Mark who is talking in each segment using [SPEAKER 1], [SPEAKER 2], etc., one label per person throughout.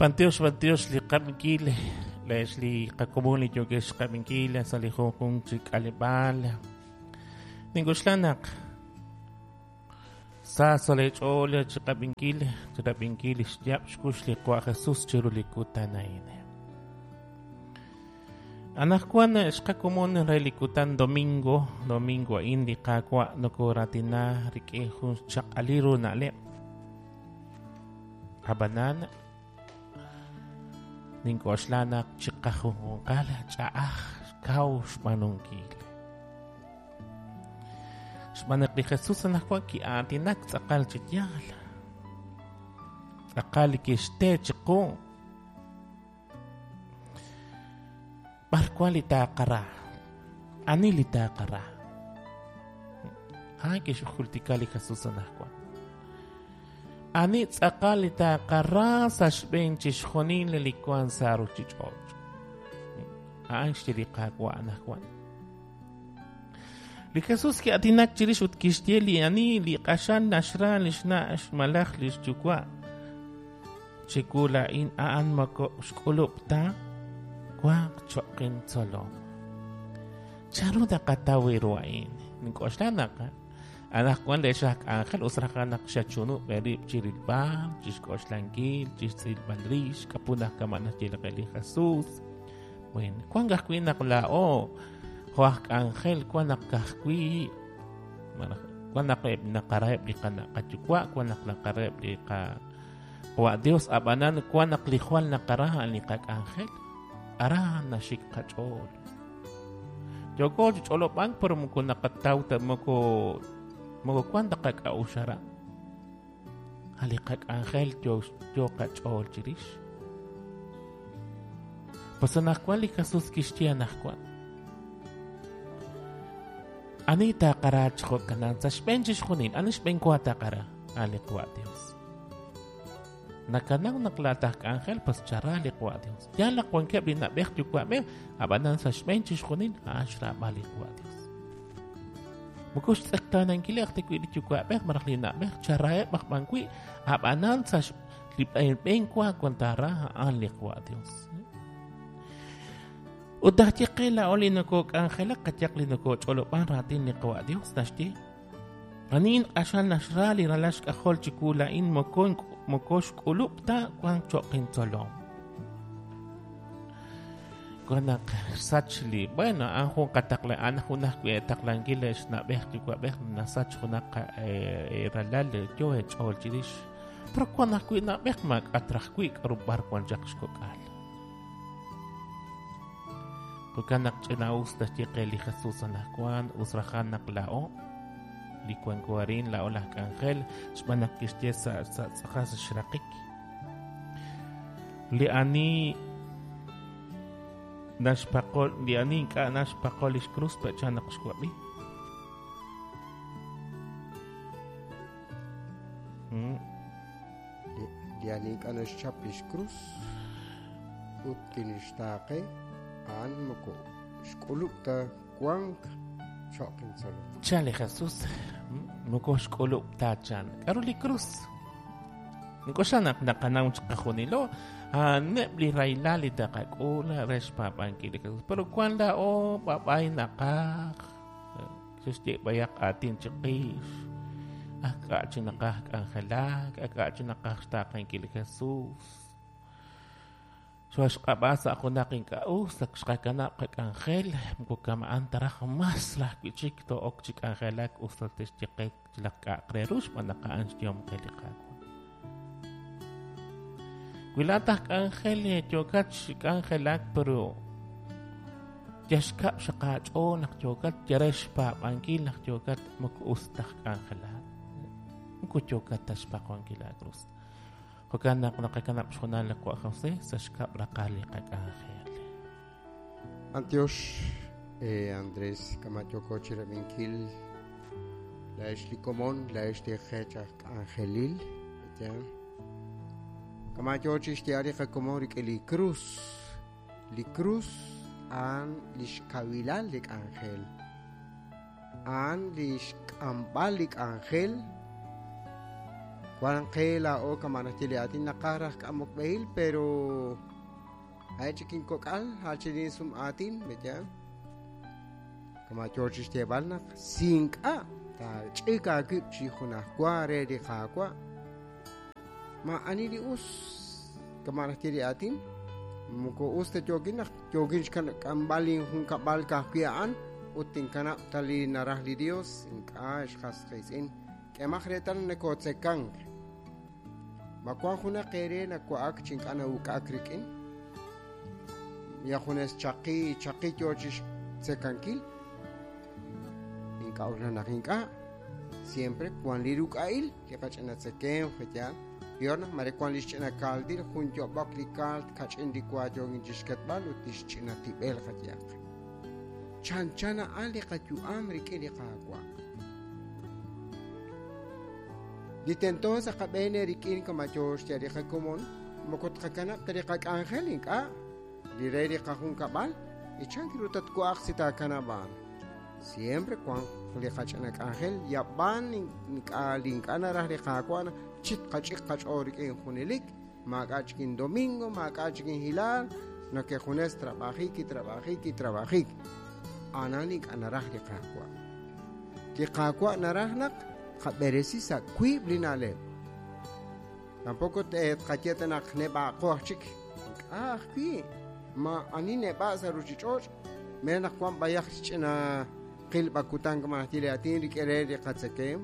[SPEAKER 1] B'antiox, b'antiox li qab'inkil, le'ex li qakomon li yookex xqab'inkil sa' li junjunq chi k'aleb'aal. Nink'oxla naq sa sa' leech'ool chi qab'inkil, chi rab'inkil li xyaab' xkux li Qawa' Jesus chiru li kutan a'in. Anaqwan xqakomon re li kutan domingo, domingo a'in li Qaawa' nokoraatina rik'in jun xchaq'alil ru na'leb'. Ab'anan, nink'oxla naq chiqajunjunqal ch'a'aj kaw xb'aanunkil. Xb'aan naq li Jesus anaqwan ki'aatinak tz'aqal chi yaal. Tz'aqal li kixte chiqu. B'ar wan li taaqara? Ani li taaqara? A'an kixjultika li Jesus anaqwan. Ani tz'aqal li taaqara sa' xb'een chixjunil li wank sa' ruuchich'och'? A'an xye li Qaawa' anaqwan. Li Jesus ki'aatinak chirix ut kixye li ani li q'axal naxra li xna' malaj li xyuwa' chiwu laa'in a'an moko xk'ulub' ta wanq cho'q intzolom. Chanru naqataw ru a'in? Nink'oxla naq anaqwan le'x aj k'anjel us raj naq xachunub' eerib' chi rilb'al, chi xk'oxlankil, chi xtz'ilb'al rix, k'apu naq kama' naxye li qe li Jesus. Bueno, wank ajwi' naq laa'o jo' aj k'anjel wan naq ka'ajwi' malaj wan naq eb' naqaraheb' li qana' qayuwa', wan naq naqaraheb' li qa Qawa' Dios, ab'anan wan naq li jwal naqara a'an li qak'anjel. Aran naxik qach'ool. Yooko chi ch'olob'ank pero moko naqataw ta moko moko wan ta qak'a'uxl aran. A' li qak'anjel yo yo qach'ool chirix. Pues anaqwan li Jesus kixye anaqwan. Ani taaqara chi jo'kanan sa' xb'een chixjunil, ani xb'een wa taaqara? A' li Qawa' Dios. Nakanaw naq laa'at aj k'anjel, pues chara li Qawa' Dios. Yaal naq wankeb' li na'b'ej yuwa'b'ej, ab'anan sa' xb'een chixjunil a'an xraab'al li Qawa' Dios. Moko xtz'eqtaanankileb' ta wi' li yuwa'b'ej malaj li na'b'ej, charaheb' aj b'an wi', ab'anan sa' li b'een wa wan taara a'an li Qawa' Dios. Ut naxye qe laa'o li nokok'anjelak, qayaq li nokoch'olob'an raatin li Qawa' Dios, naxye, Ani q'axal naxra li ralal xk'ajol chiwu laa'in moko moko xk'ulub' ta wank cho'q intzolom. Wan naq xsach li bueno, a'an jun qataqla a'an jun ajwi' taqlankil xna'b'ej yuwa'b'ej nasach junaq ralal yo eech'ool chirix. Pero wan ajwi' na'b'ej maak'a' traj wi' k'aru b'ar wan chaq xkok'al. Jo'kan naq ch'ina'us naxye qe li Jesus anaqwan, us rajan naq laa'o li wanko arin, laa'o laj k'anjel, xb'aan naq kixye sa' sa' tz'aqal sa' xraqik. Li ani naxpaqo li ani ink'a' naxpaqo lix krus pe'chan naq xwab'i.
[SPEAKER 2] Li ani ink'a' naxchap lix krus ut tinixtaaqe, a'an moko xk'ulub' ta wank cho'q intzolom.
[SPEAKER 1] Chan li Jesus, moko xk'ulub' ta chan. K'aru li krus? Nink'oxla naq naqanaw chiqajunilo a'aneb' li rahilal li taqak'ul re xpaab'ankil li Jesus. Pero wan laa'o b'ab'ay naqaj xexye b'ayaq aatin chiqix. Ak k'a' chi naqaj k'anjelak, ak k'a' chi naqaj xtaaqenkil li Jesus. Xooxq'ab'a sa' junaq ink'a' us, ak xqakanab' qak'anjel, moko kama'an ta raj mas raj wi' chik too'ok chi k'anjelak us ta te'xye qe chilaq k'a'aq re ru xb'aan naq a'an xyehom qe li Qaawa'. Wi laa'at aj k'anjel yookat chi k'anjelak pero yal xkab' xaq aach'ool naq yookat yal re xpaab'ankil naq yookat moko us ta k'anjelak. Moko yookat ta xpaqonkil aakrus. Jo'kan naq naqakanab' xhoonal li Qawa' Jose sa' xkab' raqal li qak'anjel.
[SPEAKER 2] B'antiox, Andrés, kama' yooko chirab'inkil laa'ex li komon, laa'ex li qech aj k'anjelil, yaal. Kama' yoo chixye'al li qakomon rik'in li krus. Li krus a'an lix kawilal li k'anjel. A'an lix k'amb'al li k'anjel Wan qe laa'o kama' naxye li aatin naqaj raj k'amok b'ehil, pero ha'e chik inkok'al, ha' chi lin sum aatin, ¿verdad? Kama' yoo chi xyeeb'al naq si ink'a' taach'ik aawib' chi junajwa re li Qaawa', maa'ani li us, kama' naxye li aatin, moko us ta yookin naq yookin xk'amb'al linjunkab'al ka'ajwi' a'an ut tinkanab' ta li naraj li Dios, ink'a' xqas qiitz'in. K'emaq reetal nakotzekank. Ma wan junaq eere nawa'ak chi ink'a' nawuk'ak rik'in? Ya junes chaqi chaqi yoo chi xtzekankil? Ink'a' naq ink'a'. Siempre wan li ruk'a'il li qach'ina tzekemq, yaal. Peor naq mare wan li xch'ina kaaldil jun yob'ok li kaalt kach'in li wa yookin chi xketb'al ut li xch'ina tib'el qayaq. Chanchan a'an li qayu'am rik'in li Qaawa'. Li tento sa' qab'een rik'in kama yoo xye li qakomon, moko tqakanab' ta li qak'anjel ink'a', li re li qajunkab'al, y chan ru tatwa'aq si taakanab' a'an. Siempre wan li qach'ina k'anjel, yab'an ink'a' li ink'a' naraj li Qaawa' chit qach'ik qach'ool rik'in junelik, maak'a' chik in domingo, maak'a' chik in hilaal, no que junes trabajik y trabajik y trabajik. Anan ink'a' naraj li Qaawa'. Li Qaawa' naraj naq qab'eresi sa' wiib' li na'leb'. Tampoco tqaye ta naq neb'aaqo aj chik. Ink'a' ajwi'. Ma ani neb'a' sa' ruchich'och', mere naq wan b'ayaq xch'ina qilb'a kutan kama naxye li aatin rik'in re li qatzekem.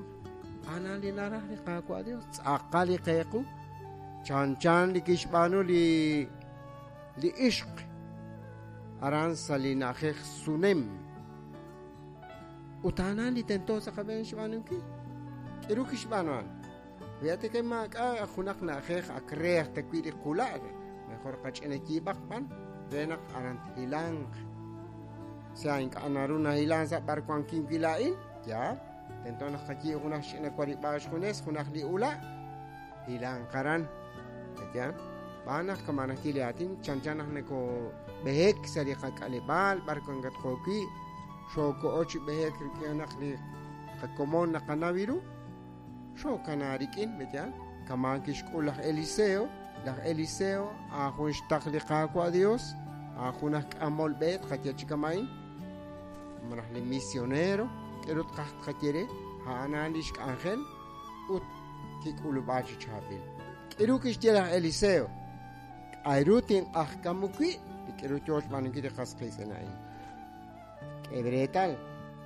[SPEAKER 2] Anan li naraj li Qaawa' Dios, tz'aqal li qeequ. Chanchan li kixb'aanu li ixq aran sa' li na'ajej Sunem. Ut a'an li tento sa' qab'een xb'aanunkil. K'iru kixb'aanu a'an? Fíjate que maak'a' junaq na'ajej ak re aj ta wi' li qula'. Mejor qach'ina yiib'aq b'an re naq aran thilanq. Sea ink'a' naru nahilan sa' b'ar wankin wi' laa'in, yaal. Tento naq qayiib' junaq xch'ina warib'aal xjunes, junaq li ula', hilanq aran. Yaal. B'aan naq kama' naxye li aatin, chanchan naq nakob'ehek sa' li qak'aleb'aal b'ar wankatqo wi', xooko'o chi b'ehek rik'in naq li qakomon naqanaw ru, xookana rik'in, ¿verdad? Kama' kixk'ul laj Eliseo, laj Eliseo a'an jun xtaql li Qaawa' Dios, a'an jun aj k'amol b'e tqaye chi kama'in, malaj li misionero, k'eru tqaj tqaye re, a'an a'an lix k'anjel ut kik'ulub'a chi chaab'il. K'eru kixye laj Eliseo, k'a'ru tinq'ajkamu wi' li k'eru yoo xb'aanunkil li qas qiitz'in a'in. K'e reetal,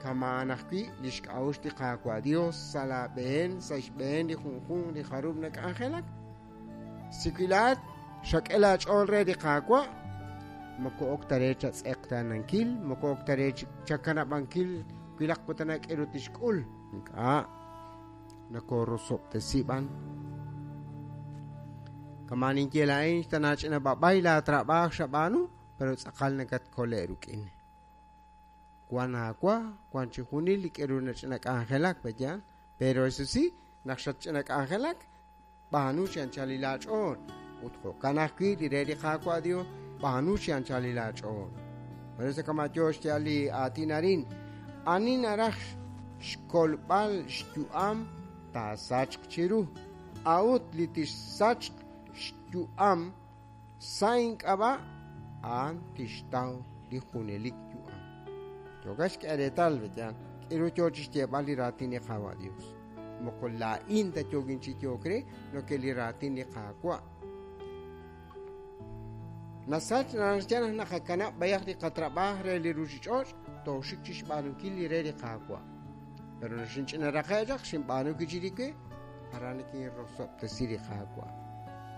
[SPEAKER 2] kama' ajwi' li xk'a'uxl li Qaawa' Dios sa' laab'een, sa' xb'een li junjunq li jarub' nak'anjelak. Si wilaat xak'e laach'ool re li Qaawa', moko ok ta re chatz'eqtaanankil, moko ok ta re chakanab'ankil wilaq kutan k'eru tixk'ul. Ink'a' nakorosob'tesi b'an. Kama' ninye laa'in xtanaach'ina b'ab'ay laatrab'aaj xab'aanu, pero tz'aqal nakatkole' rik'in. Wan aawa, wan chi junil li k'eru nach'ina k'anjelak, ¿verdad? Pero eso sí, naq xatch'ina k'anjelak, b'aanu chi anchal li laach'ool. Ut jo'kan ajwi' li re li Qaawa' Dios, b'aanu chi anchal li laach'ool. Por eso kama' yoo xye li aatin arin, ani naraj xkolb'al xyu'am taasachq chiru. A'ut li tixsachq xyu'am sa' ink'ab'a', a'an tixtaw li junelik yu'am. Yoka xk'e reetal, ¿verdad? K'eru yoo chi xyeeb'al li raatin li Qaawa' Dios. Moko laa'in ta yookin chi yook re, no que li raatin li Qaawa'. Nasach naxye naq naqakanab' b'ayaq li qatrab'aaj re li ruchich'och', tooxik chi xb'aanunkil li re li Qaawa'. Pero xinch'ina raqe' chaq, xinb'aanu chi li we, aran nikinrosob'tesi li Qaawa'.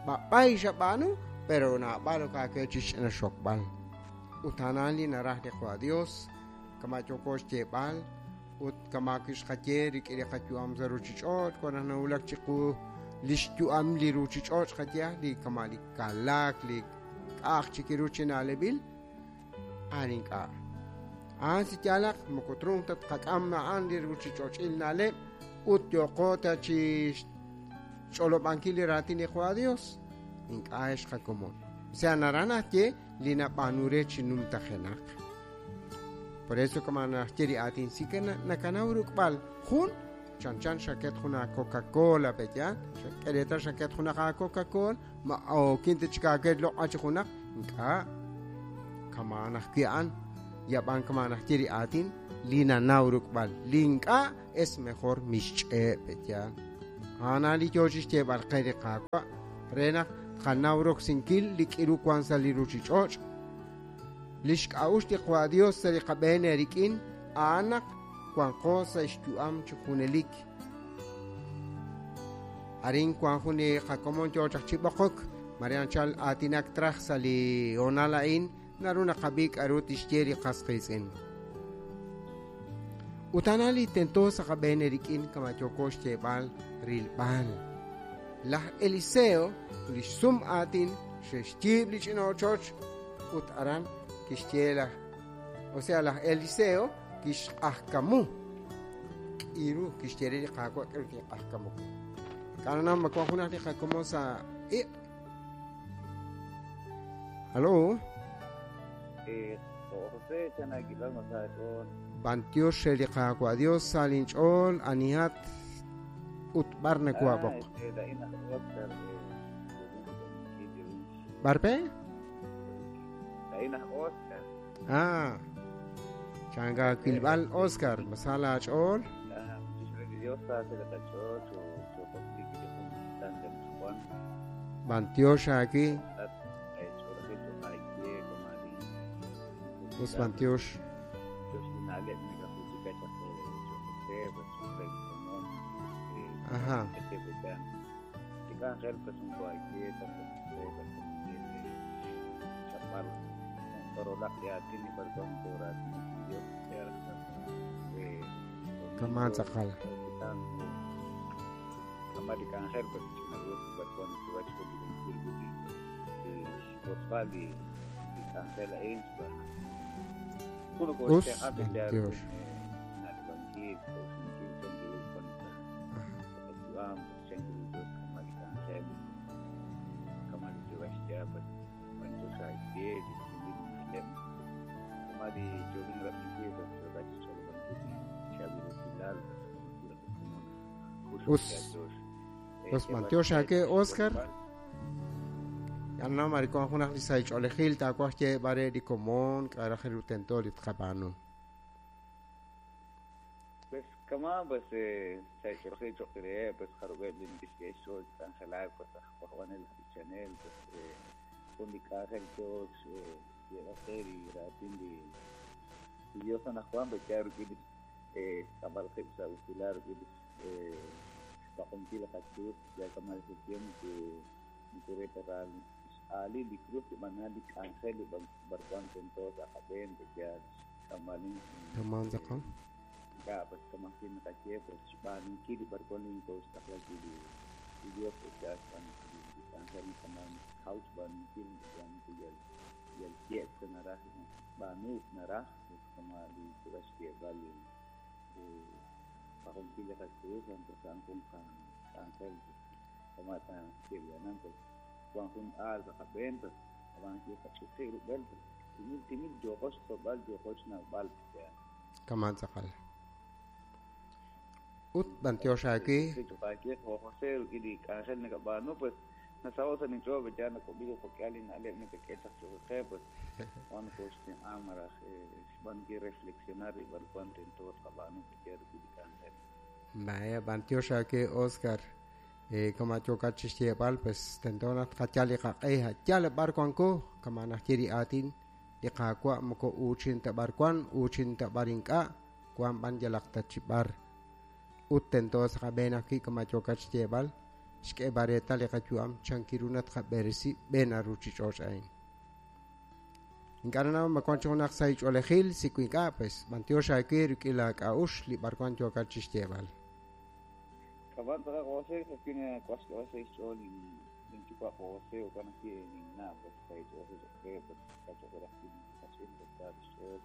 [SPEAKER 2] B'ab'ay xab'aanu, pero naab'al ok chi xch'ina xokb'al. Ut a'an li naraj li Qaawa' Dios, kama' yooko xyeeb'al, ut kama' kixqaye rik'in li qayu'am sa' ruchich'och', wan naq nawulak chiqu li xyu'am li ruchich'och' qaye, li kama' li kalaak, li k'a'aj chik ru chi na'leb'il, a'an ink'a'. A'an si yaalaq, moko trunk ta tqak'am a'an li ruchich'och'il na'leb', ut yooqo ta chi xch'olob'ankil li raatin li Qaawa' Dios, ink'a' xqakomon. O sea, naraj naxye li nab'aanu re chi numtajenaq. Por eso kama naxye li aatin, si que nakanaw ruk'b'al jun Chanchan xaket jun a Coca-Cola pe'yaal, xak'e reetal xaket junaq a Coca-Cola, ma ookin ta chik aawe loq'a chi junaq, ink'a'. Kama'an ajwi' a'an, yab'an kama'an ajwi' li aatin li nanaw ruk'b'al, li ink'a' es mejor mixch'e' pe'yaal. A'an li yoo chixyeeb'al qe li Qaawa' re naq tqanaw roksinkil li k'iru wank sa' li ruchich'och'. Lix k'a'uxl li Qwa' Dios sa' li qab'een eerik'in a'an naq wanqo sa' xyu'am chi junelik. Arin wank jun li qakomon yoo chaq chi b'oqok, mare anchal aatinak traj sa' li hoonal a'in, naru naqab'i k'a'ru tixye li qas qiitz'in. Ut a'an li tento sa' qab'een eerik'in kama' yooko xyeeb'al rilb'al. Laj Eliseo, li xsum aatin, xe'xyiib' li ch'ina ochoch ut aran kixye laj, o sea, laj Eliseo kixq'ajkamu k'iru kixye re li Qaawa' k'aru tinq'ajkamu wi'. K'a'ru ma wank junaq li qakomon sa' iq'? Halo?
[SPEAKER 3] José, chanakilal masach'ool.
[SPEAKER 2] B'antiox re li Qaawa' Dios sa' linch'ool anihat ut b'ar nawaab'oq. B'ar pe?
[SPEAKER 3] Lain aj Oscar.
[SPEAKER 2] Ah, changa wilb'al Oscar, ma sa laach'ool? B'antiox aawi. Us b'antiox. Ajá. Kama tz'aqal. Us b'antiox. Us us b'antiox aawe Oscar. Yal na mare wank junaq li sahil ch'oolejil taawaj xyeeb'al re li komon k'a' raj ru tento li tqab'aanu.
[SPEAKER 3] Pues kama pues sahil ch'oolejil cho'q reheb' pues jarub'eb' li neke'xk'e xch'ool k'anjelak pues aj wajb'anel aj b'ichanel pues jun li k'anjel yoo xyeeb'al qe li raatin li Dios anaqwan pues ya rik'in li xk'amb'al qib' sa' usilal rik'in li xpaqonkil qachuut ya kama li tiempo nikureteral x'aali li cruz li b'anal li k'anjel li b'arwan tento sa' qab'een pues ya xk'amb'alin
[SPEAKER 2] Kama tz'aqal.
[SPEAKER 3] Ink'a' pues kama ajwi' naqaye pues xb'aanunkil li b'arwan li kooxtaqla wi' li Dios pues ya xb'aanunkil li k'anjel kama kaw xb'aanunkil yal yal ye'k naraj b'aanuuk naraj pues kama li xyeeb'al li paqonkil li qacruz pues a'an jun qak'anjel kama ta xyeeb'anan pues wan jun aal sa' qab'een pues ab'an qach'uqi' rub'el pues timil timil yooqo xtzolb'al yooqo xnawb'al ya.
[SPEAKER 2] Kama tz'aqal. Ut b'antiox aawe.
[SPEAKER 3] José rik'in li k'anjel nakab'aanu pues nasaho' sa' ninch'ool pues ya nak'ob'i jo'k'ihal li na'leb' nakak'e chaq cho'q qe pues wan kooxtenq'a malaj xb'aanunkil reflexionar li b'arwan tento tqab'aanu pues ya rik'in li k'anjel.
[SPEAKER 2] Vaya, b'antiox aawe Oscar. Kama yookat chixyeeb'al pues tento naq tqayal li qaq'e yal b'ar wanko kama naxye li aatin li Qaawa' moko uuchin ta b'ar wan uuchin ta b'ar ink'a' wan b'an yalaq ta chi b'ar ut tento sa' qab'een ajwi' kama yookat xyeeb'al xk'eeb'al reetal li qayu'am chankiru naq tqab'eresi b'een ruchich'och' a'in. Ink'a' nanaw ma wank chi junaq sahil ch'oolejil si wi ink'a' pues b'antiox aawe rik'in laak'a'uxl li b'ar wan yookat chixyeeb'al.
[SPEAKER 3] Kama tz'aqal José ajwi' nawaj xk'eb'al sa' xch'ool linyuwa' José jo'kan ajwi' linna' pues sahil ch'oolejil cho'q re pues cho'q re ajwi' qach'in pues sa xch'ool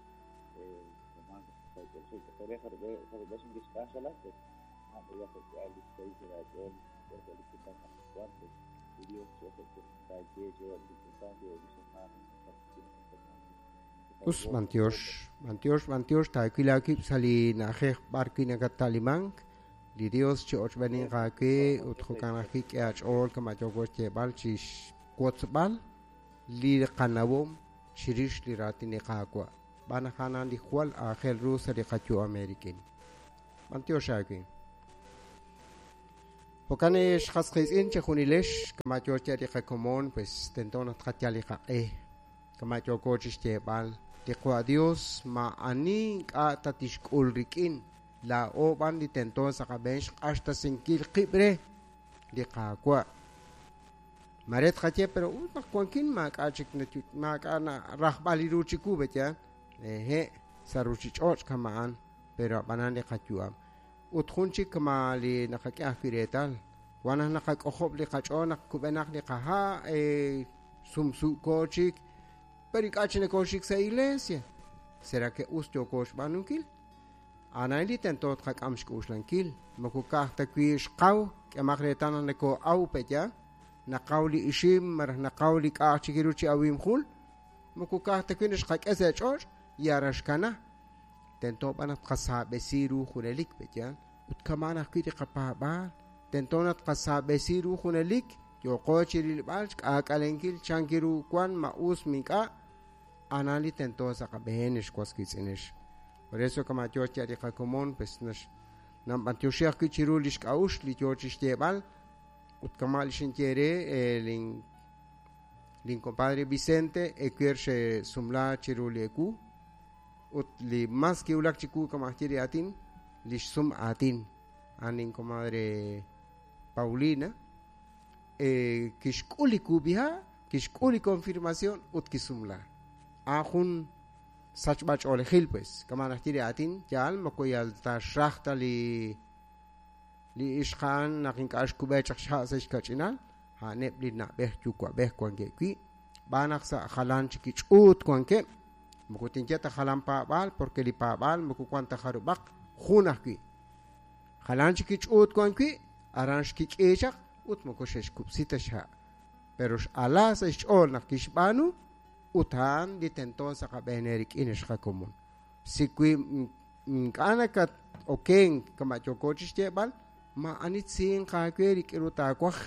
[SPEAKER 3] kama sahil ch'oolejil cho'q re jarub'eb' neke'xk'anjelak pues a'an jo'k'ihal li xsahil sa' laach'ool li kutan anaqwan pues li Dios taaye reheb' li kutan reheb' li xamaan
[SPEAKER 2] Us b'antiox b'antiox b'antiox taawil aawib' sa' li na'ajej b'ar wi' nakatta'limank Li Dios chi ochb'eninq aawe ut jo'kan ajwi' k'e aach'ool kama' yooko xyeeb'al chi xwotzb'al li qanawom chirix li raatin li Qaawa'. B'an naq a'an li jwal aajel ru sa' li qayu'am eerik'in. B'antiox aawe. Jo'kan xqas qiitz'in chejunilex kama' yoo xye li qakomon, pues tento naq tqayal li qaq'e. Kama' yooko chi xyeeb'al li Qwa' Dios ma'ani ink'a' ta tixk'ul rik'in. Laa'o b'an li tento sa' qab'een xq'axtesinkil qib' re li Qaawa'. Mare tqaye, pero us naq wankin maak'a' chik maak'a' rajb'al li ru chiwu, beya. Ehe, sa' ruuchich'och' kama'an, pero ab'anan li qayu'am. Ut jun chik kama li naqak'e ajwi' reetal. Wan naq naqak'ojob' li qach'ool naq kub'enaq li qaha', sumsu'ko chik, pero ink'a' chi nokoxik sa' iglesia. Será que us yooko xb'aanunkil? A'an li tento tqak'am xk'uxlankil. Moko ka'aj ta wi' xqaw, k'emaq reetal naq nakoo'aw pe'ya, naqaw li ixim malaj naqaw li k'a'aj chik ru chi awim jul, moko ka'aj ta wi' naxqak'e sa' ch'och' yara xkana. Tento b'an naq tqasaab'esi ru junelik pe'ya, ut kama'an ajwi' li qapaab'aal. Tento naq tqasaab'esi ru junelik, yooko chi rilb'al xk'aak'alenkil chanki ru wan ma us mink'a', a'an li tento sa' qab'een xwas qiitz'inex. Por eso kama yoo xye li qakomon, pues namb'antioxi ajwi' chiru li xk'a'uxl li yoo chi xyeeb'al, ut kama' li xinye re lin compadre Vicente ewer xesumla chiru li ewu, ut li mas kiwulak chiwu kama' xye li aatin, li xsum aatin a'an lin comadre Paulina, kixk'ul li kub'iha', kixk'ul li confirmación ut kisumla. A'an jun sachb'ach'oolejil, pues, kama' naxye li aatin, yaal moko yal ta xraj ta li ixqa'an naq ink'a' xkub'e chaq xha' sa' xkach'inal, a'aneb' li na'b'ej yuwa'b'ej wankeb' wi', b'an naq sa' jalan chik ch'uut wankeb', moko tinye ta jalan paab'aal, porque li paab'aal moko wan ta jarub'aq jun ajwi'. Jalan chik ch'uut wan wi', aran xkik'i chaq ut moko xe'xkub'si ta xha'. Pero x'ala sa' xch'ool naq kixb'aanu, ut a'an li tento sa' qab'een rik'in xqakomon. Si wi ink'a' nakat okenk kama' yooko chi xyeeb'al, ma'ani tzinq aawe rik'in ru taawaj.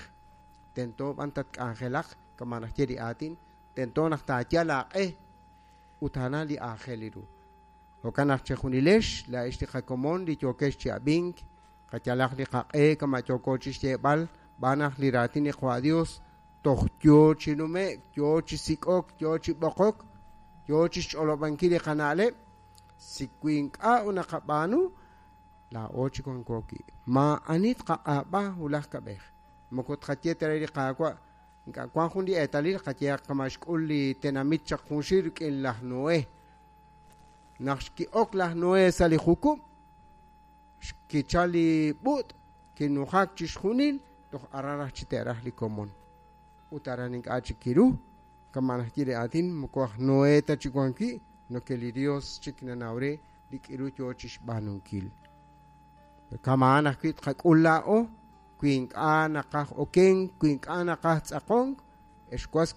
[SPEAKER 2] Tento b'an tatk'anjelaq kama' naxye li aatin, tento naq taayal aaq'e ut a'an li aajel ru. Jo'kan naq chejunilex laa'ex li qakomon li yookex chi ab'ink, qayalaq li qaq'e kama' yooko chi xyeeb'al, b'an naq li raatin li Qwa' Dios toj yoo chi nume'k, yoo chi sik'ok, yoo chi b'oqok, yoo chi xch'olob'ankil li qana'leb', si wi ink'a' naqab'aanu, laa'o chi wanko wi'. Ma'ani tqaq'aab'a wulaj kab'ej. Moko tqaye ta re li Qaawa', ink'a' wan jun li eetalil qayehaq kama' xk'ul li tenamit chaq junxil rik'in laj Noé. Naq xki'ok laj Noé sa' li jukub', xkichal li b'ut', kinujak chi xjunil, toj aran raj chi te'raj li komon. Ut aran ink'a' chik kiru, kama' naxye li aatin, moko aj Noé ta chi wan wi', no que li Dios chik nanaw re li k'iru yoo chi xb'aanunkil. Kama'an ajwi' tqak'ul laa'o, wi ink'a' naqaj okenk, wi ink'a' naqaj tz'aqonk, ex was